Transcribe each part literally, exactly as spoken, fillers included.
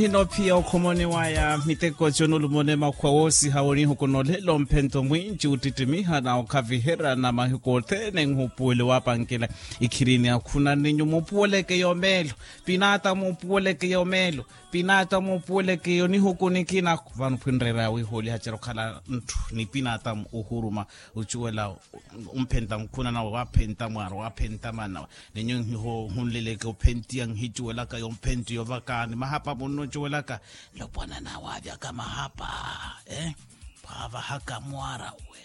Hino phiya okhomoni waya miteko tyo nulumone makhwa woosiha wonihuku nolela omphento mwinci ottittimiha na okhaviherya na mahiku othene nhupuwele wapankela ikhirini akhuna ninyu mupuweleke yomeelo. Pinata mupuweleke yomeelo. Pinata mupuweleke yonihuku nikina vano phwinreera wihooliha cera okhala ntthu ni pinata ohuruma ocuwela omphenta mukhuna nawe waphenta mwaara waphenta maana nawe. Ninyo nhunleleke ophentiya nhicuwelaka yomphenti yovaka ni mahapa munno ocuwelaka. Lopwana nawe avyaka mahapa. Pwaavahaka mwaara we.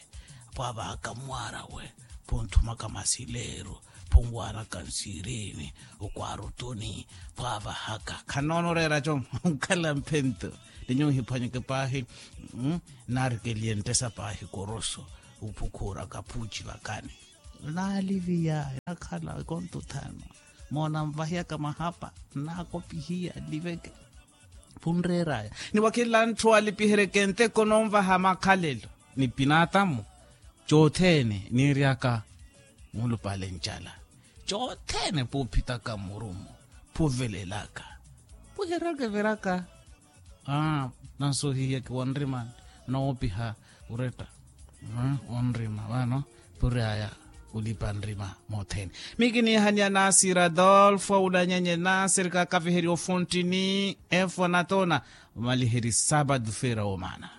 Pwaavahaka mwaara we. Phunthumaka masileeru. Phunwaaraka nsirini. Okwaara otuni. Pwaavahaka khanoona oreera co. Nkhala mphento. Ninyo nhiphwanyeke paahi. Naarikeliye nttesa paahi koroso. Ophukhuuraka phuuci vakani. Naaliviya nakhala ekonto thaano. Moona nvahiyaka mahapa. Naakopihiya nliveke. Phunreeraya ni wakhinla ntthu alipiheryeke nteko nonvaha makhalelo ni pinatamu. Cothene niiryaka. Mulupale ncala. Cothene puuphitaka mmurumo. Puvelelaka. Puheryaka eviraka. Aa. Nansohihiyeke wanrima noopiha oretta. Onrima vano puri aya. Olipa nrima mothene. Mikinihaniya nasir adolfo aulanyanye nasir kakaviherya ofontini efo natona. Omaliheri sabado feira womana.